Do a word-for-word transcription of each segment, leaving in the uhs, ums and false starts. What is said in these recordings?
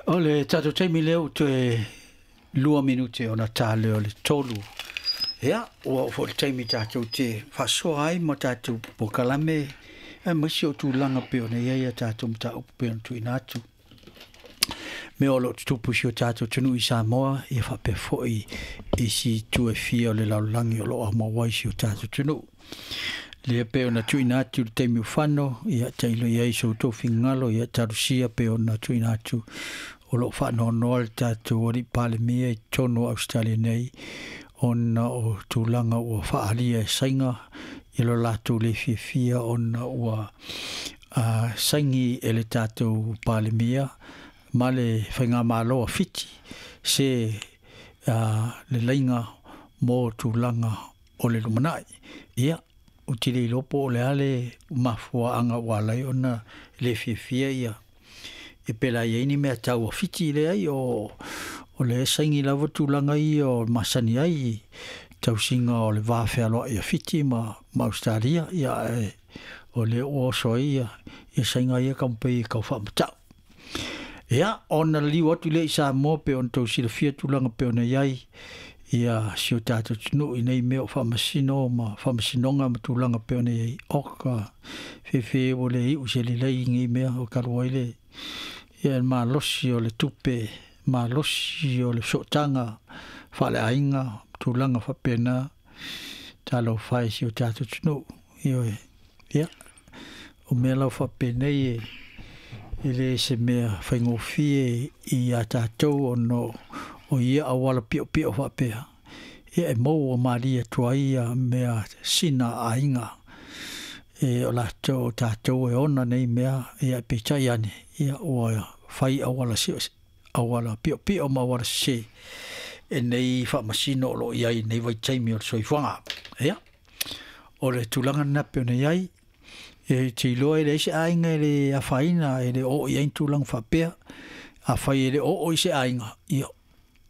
O le tatou taimi lea ua toe lua minute ona ta lea o le tolu. Ia, ua oo foi le taimi tatou te faasoa ai ma tatou polokalame aemaise o tulaga pei ona i ai a tatou mataupu pei ona tuuina atu. Mea o lo o tutupu i si o tatou atunuu i Samoa, ia faapea foi isi itu e fia o le lalolagi o lo o aumau ai si o tatou atunuu. Lea pei ona tuuina atu i le taimi ua fano, ia tailo i ai so outou finagalo, ia talosia pei ona tuuina atu o lo o faanoanoa le tatou alii Palemia i totonu o Ausetalia nei ona o tulaga ua faaalia e saiga i lo latou le fiafia ona ua uh, saigi e le tatou Palemia ma le faigamalo a Fiti se uh, le laiga mo tulaga o le lumanai. Ia, ou te le iloa po o le a le mafuaaga ua ala ai ona le fiafia ia e pela i ai ni mea tau a Fiti leai o o le saigi lava tulaga ia o masani ai tausiga o le va fealoai a Fiti ma, ma Australia, ia e, o le ua oso ai ia, ia saiga ia taumafai e tau faamatau. Ia, ona liu atu lea i Samoa pe ona tou silafia tulaga pe ona i ai ia si o tatou atunuu i nei mea o faamasino ma faamasinoga ma tulaga pe ona i ai. O ka fefe ua le iu se lelei i nei mea o talu ai le ia le malosi o le tupe, malosi o le sootaga faaleaiga, tulaga faapena, talofa e si o tatou atunuu. Ioe. Ia, o mea lava faapenei e e le se mea faigofie ia tatou ona o ia auala piopio faapea. Ia e maua malie atu ai ia mea sina aiga e o latou o tatou e ona nei mea, ia peitai ane, ia ua fai auala sio, auala piopio ma auala sese e nei faamasino o lo o i ai i nei vaitaimi o le soifuaga. Ia, o le tulaga lena pei ona i ai, e te iloa e leai se aiga e le afaina, e le oo i ai ni tulaga faapea. Afai e le oo i se aiga, ia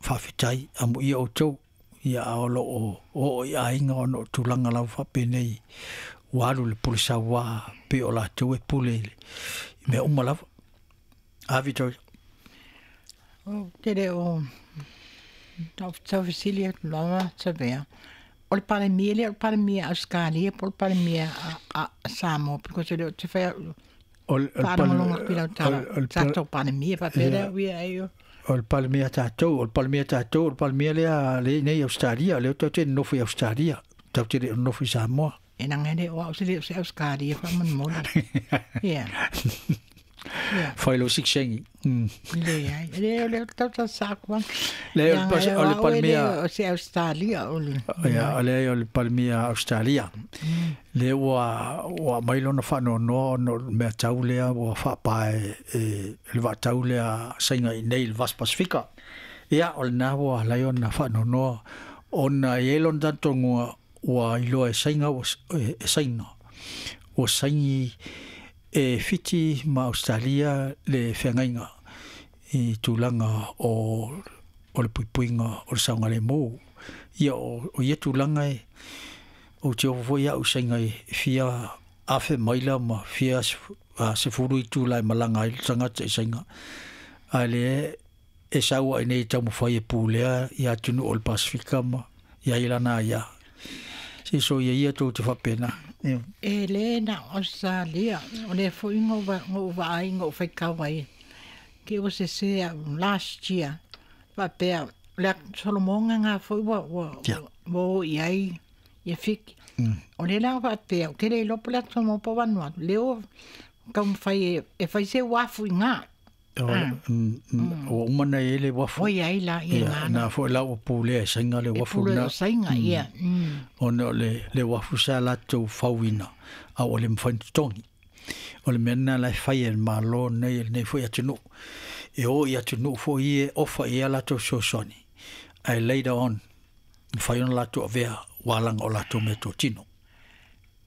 faafetai, amuia outou, ia a o lo o oo i aiga ona o tulaga lava faapenei ua alu le pule sauā pei o latou e pule i mea uma lava. A Victoria. Ou te le o tau fesili atu lava Savea. O le Palemia lea o le Palemia a Ausetalia po o le Palemia a, a Samoa because o lea ou te fai au O le, o le, faalogologo atu i lau tala o le, tatou Palemia faapea lea uia ai o. O le Palemia tatou, o le Palemia tatou, o le Palemia lea le nei Ausetalia, lea tatou te nonofo i Ausetalia, tatou te le o nonofo i Samoa. E leaga e le o au se le o se Ausetalia faamolemole. Ia. Ia. Fai lou sikisengi. Mm. Leai. E le o le tau tau sa aku Le, o le, Leaga pas- e o le o au e le Palemia o se Ausetalia o le. Ia, o le o le Palemia Australia. Le ua ua mai lona faanoanoa ona o le mea tau lea ua faapae e, le vaatau lea saiga i nei i le Vasi Pasifika. Ia, o lena ua ala ai ona faanoanoa ona e i ai lona talitonuga ua iloa e saiga ua e, e saina. Ua saigi e Fiti ma Australia le feagaiga i tulaga o o le puipuiga o le saogalemu. Ia o, o ia tulaga e ou te ofo foi au i saiga e fia afe maila ma fia sefulu itula e malaga ai le tagata i saiga. Ae lea e sau ai nei taumafai e pulea ia atunuu o le Pasifika ma i ai lana aia. Se soia ia tou te faapena. Ia. E le na o Australia o lea foi na ou vaai na ou faitau ai ke ua sese au last year faapea o le atu Solomoga na foi ua ua Ia. ua o i ai ia Fiti. O lea la faapea ou te le iloa po o le atu Samoa po o Vanuatu lea ua taumafai e, e fai se uafu i gā. O, mm, mm, ua uma ona i ai le uafu. Ua i ai la ia Ia, gā na foi la ua pulea e saiga le e uafu pule lena. o saiga ia. Mm. Ona o le, le uafu sa latou fauina, a ua le mafai ona totogi. O le mea lena la e fai e le Malo nei e lenei foi atunuu. E o i atunuu foi ia e ofa i ai a latou fesoasoani, ae later on, mafai ona latou avea ualaga o latou meatotino.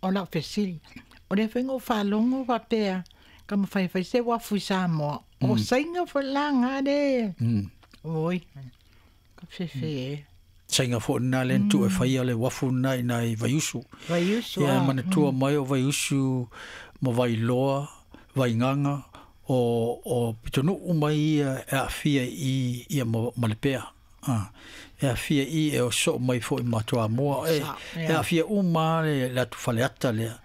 O lau fesili, o lea foi na ou faalogo faapea taumafai e fai se uafu i Samoa. O saiga foi la gā le. Mm. Oi, ka fefe e. Saiga foi lena lea na tuu e faia le uafu lena i nai Vaiusu. Vaiusu Ia, e a. manatua mai o Vaiusu ma Vailoa, Vaigaga, o o pitonu'u mai ia e a'afia i ia ma le pea a e a'afia i e oso'o mai fo'i ma Toamoa e e a'afia uma le le atu Faleata lea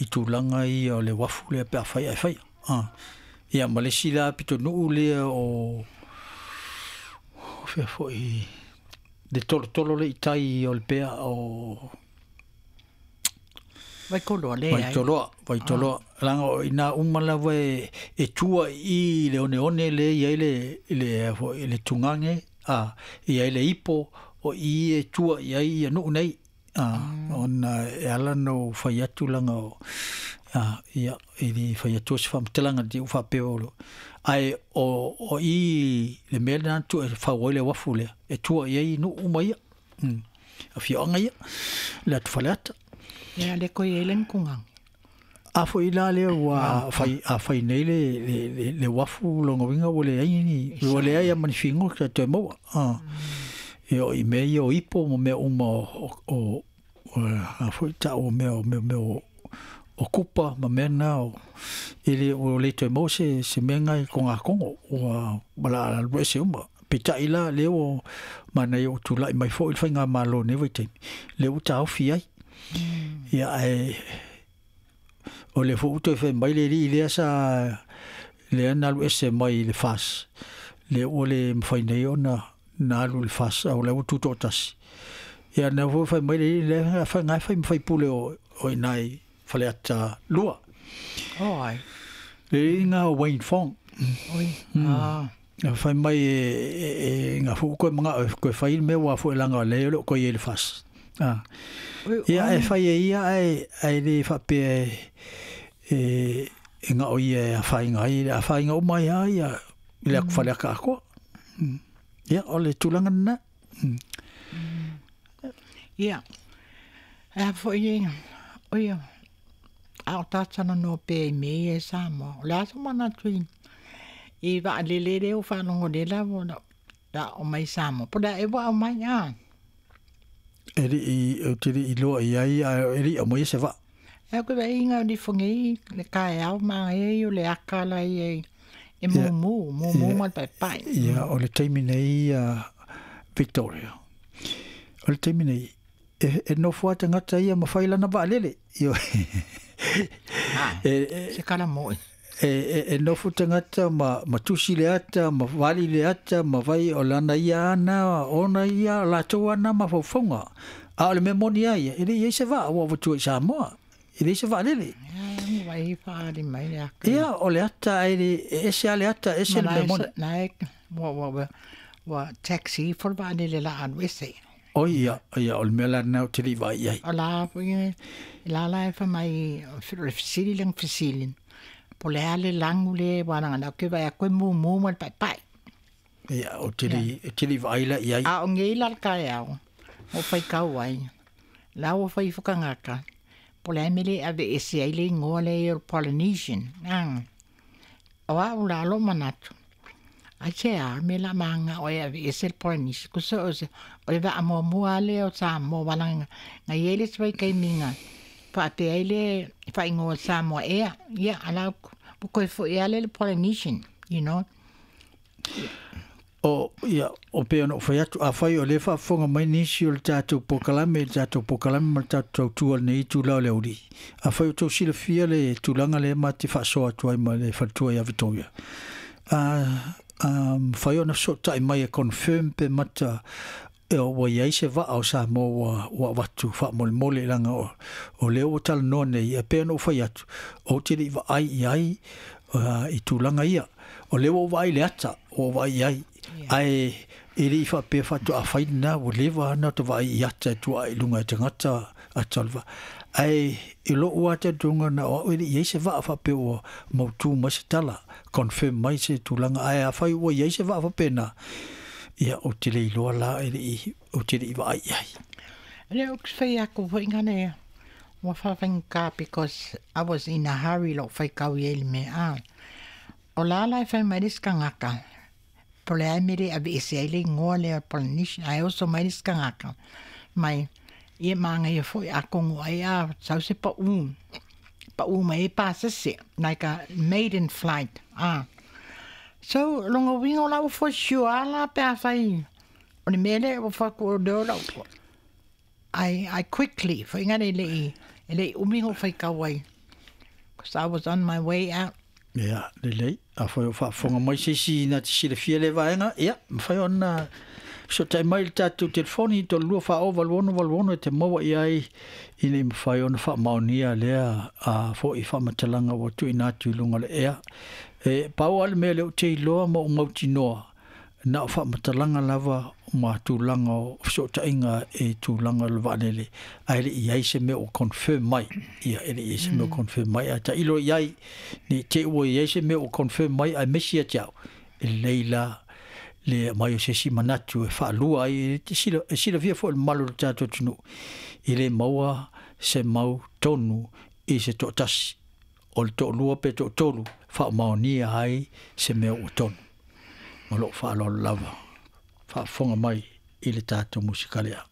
i tulaga ia o le uafu lea pe afai ae faia a ia ma le isi la pitonu'u lea o fea fo'i le tolotolo le i tai o le pea o Waikoloa le ai. Waitoloa, Waitoloa. Laga o iná uma lava e e tua i le oneone le i ai le le foi le tugage a i ai le ipo o i e tua i ai ia nu'u nei a ona e ala ona ou fai atu laga o a ia e lē fai atua se faamatalaga le faapea o ae o o i le mea lena na tuu e fau ai le uafu lea e tua i ai nu'u uma ia mm afioaga ia le atu Faleata. Ia le koe ai le nukugaga. A foi la lea ua fai a fai nei le le le, le uafu lona uiga ua leai ni ua leai ma ni figota e toe maua a e o i mea ia o ipo ma mea uma o o a foi ta'u o mea o mea mea o o kupa ma mea na o e le ua le toe maua se se mea na i kogakogo ua ma alu ese uma peitai la lea ua manaia ua tula'i mai fo'i le faigamālō i lenei vaitaimi lea ua taofi ai ia ae o le foi ua toe fai mai le alii lea sa lea na alu ese mai i le F A S lea ua le mafai nei ona na alu i le F A S a o la ua tuto'atasi ia na foi fai mai le alii lea fai na fai ma faipule o o iina i Faleata lua. Oh ai. Le alii lena o Wayne Fong. Oi. Ah. Fai mai e e e ga foi koe maga'o e koe fai le mea ua foi laga o lea o le o koe i le F A S a ia e fai e ia ae ae lē faapea e e e ga'o ia e afaina ai afaina uma ai a ia i le atu Faleata atoa ia o le tulaga lena. Ia. E a foi e oi a o talanoa pea i mea ia e Samoa. O le a so manatu i i vaalele lea ua faalogo nei lava o la o mai Samoa. Po o le a ea ua aumai a. E li'i ou te li'i iloa i ai ae e li'i aumaia se vaa. E au ke vaaiga o nifogei le taeao manaia ia o le aka la ia e Ia mumu, mumu ia ma le paepae. Ia o le taimi nei Victoria o le taimi nei e e nofo lava tagata ia ma fai lana vaalele ioe e e Se kala mo'i. e e e nofo tagata ma ma tusi le ata ma vali le ata ma vai o lana ia ana ona ia latou ana mafaufauga a o le mea moni a ia e le i ai se vaa ua avatua i Samoa e leai se vaalele. Ia vai faali mai le aka. Ia o le ata ae le e ese lava le ata ese Ma le la mea moni. e na ua ua ua taxi ifo le vaalele la alu ese. Oi ia ia o le mea la lena ou te le i vaai i ai. O la foi e la la e fai mai o le fesili lea na fesili po o le a le lagu lea aua leaga o lea ou te vaai atu e mumu ma le paepae. Ia ou te le ou te le i vaai la i ai. A o nei la le taeao ua faitau ai la ua fai ifo tagata po o le a le mea le aveese ai le igoa lea o le Polynesian a. O a'u la lou manatu aisea le mea o le a maga'o ai e aveese le Polynesian tusa o se o le vaamuamua lava lea o Samoa aua leaga na i ai le isi vaitaimi na faapea ai le faaigoa Samoa ea ia a o la ua toe fo'i lava lea i le Polynesian you know. O ia o pei ona ou fai atu afai o lea e faafofoga mai nisi o le tatou polokalame i le tatou polokalame ma le tatou tautua i lenei itula o le aulii afai o outou silafia le tulaga lea ma te faasoa atu ai ma le faletua ia Victoria a a mafai ona fesootai mai e confirm pe mata ua i ai se vaa o Samoa ua ua avatu faamolemole laga o o lea ua talanoa nei e pei ona ou fai atu ou te le i vaai i ai i tulaga ia o lea ua ou vaai i le ata ua ou vaai i ai ae e le i faapea faatoa fai lena ua leva ona ta vaai i ata e tuuai i luga e tagata ata o le vaa ae i lo'u lava talitonuga na o a'u e le i ai se vaa faapea ua mautū mai se tala confirm mai se tulaga ae afai ua i ai se vaa faapena ia ou te le iloa la e le i ou te le i vaai i ai. Le ou te fai atu foi ngane ua faafaigata because I was in a hurry lou faitau i ai i le mea a. O la la e fai mai le isi tagata po o le a le mea le aveese ai le igoa lea o le Polynesian ae oso mai le isi tagata mai ia manaia foi atonu ai a sau se pa'u Pa'ū mai ai pasese, like a maiden flight, ah. So, lona uiga o la ua for sure lava la pe afai o le mea lea ua fai atu o lea o lau I, I quickly, faiga le le'i, e le'i umi ona ou faitau ai, 'cause I was on my way out. Ia, lelei. Afai o faafofoga mai se isi na te silafia lea vaega, ia, mafai ona fesootai mai i le tatou telefoni tolu lua fa o valu ono valu ono e te maua i ai ina ia mafai ona faamaonia lea a foi faamatalaga ua tuuina atu i luga o le ea. E pau lava le mea lea ou te iloa ma ou mautinoa, na o faamatalaga lava ma tulaga o fesootaiga i tulaga o le vaalele, ae le i i ai se mea ua confirm mai. Ia, e le i i ai se mea ua confirm mai, ae tailo i ai, ne i te i ua i ai se mea ua confirm mai aemaise ia te au, e lelei la le aumai o se isi manatu e faalua ai, e sila, e silafia foi e le mamalu o le tatou atunuu, e le maua se mau tonu i se toatasi, o le toalua pe toatolu faamaonia ai se mea ua tonu. Ma lou faaaloalo lava, faafofoga mai i le tatou musika lea.